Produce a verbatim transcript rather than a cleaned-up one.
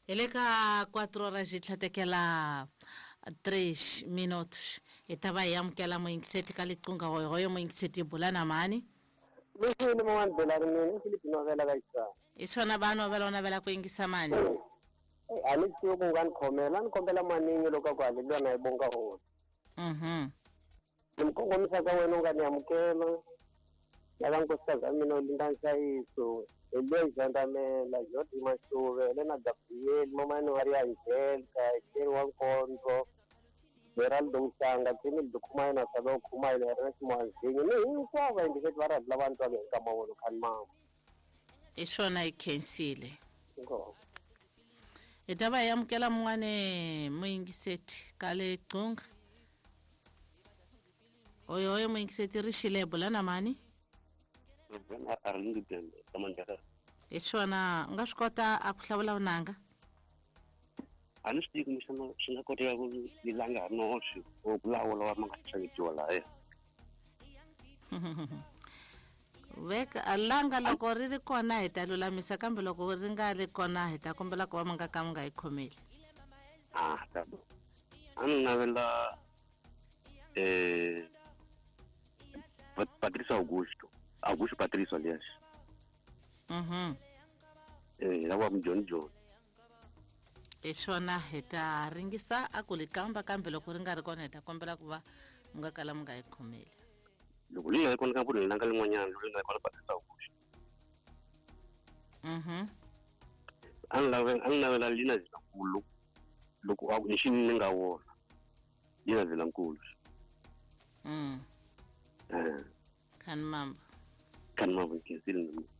Hi le ka quatro horas yi tlhatekela três minutos. Hi ta va hi amukela muyingiseti ka liqunga hoyohoyo muyingiseti bula na mani. Lexi ni man'wani belani mina i Philip Novela ka Xitsonga. Hi swona va novela u navela ku yingisa mani? A ni swi tivi ku nga ni khomela, a ni kombela maningi loko a ku haleliwa na yi bonga hosi. Mhm. Ni mi kongomisa ka wena u nga ni amukela. Lava nkosikazi wa mina u linda nhlayiso. Eliya Xandamela, Jodi Mashuve, Helena Gabriel, Mamani wa ri Angelica, Sheri wa Nkondzo, Geraldo Mhlanga, Kenny Dukhumayo na Salo Khumayo, Ernest Mwanzinyi, ni hinkwavo vayingiseti va rhadi lava ni twaka hi nkama wona khani mama. Hi swona hi khensile. Inkomu. Hi ta va hi amukela mun'wani muyingiseti ka le Gcunga. Oyoyo muyingiseti ri xile bula na mani? Hi swona u nga swi kota a ku hlawula vunanga? A ni swi tivi kumbexana swi nga koteka ku ni langa noxe or ku lawula wa ma nga xavetiwa lahaya. Veka langa loko ri ri kona hi ta lulamisa, kambe loko ri nga ri kona hi ta kombela ku va mi nga ka mi nga yi khomeli. Ah, ta a ni navela eh Patricio Augusto. Augusto Patricio aliás. Mhm. Eh, lava John John. Hi swona hi ta ringisa a ku li kamba, kambe loko ri nga ri kona hi ta kombela ku va mi nga kala mi nga yi khomeli. Loko li nga ri kona ka vunhu langa lin'wanyana, loko li nga ri kona Patricio Augusto. Mhm. A ni lave, a ni navela Lina Zilankulu loko a ku ni xi ni nga wona. Lina Zilankulu. Mm. Eh. Khani mamba. Khani mamba nkhensile na mina.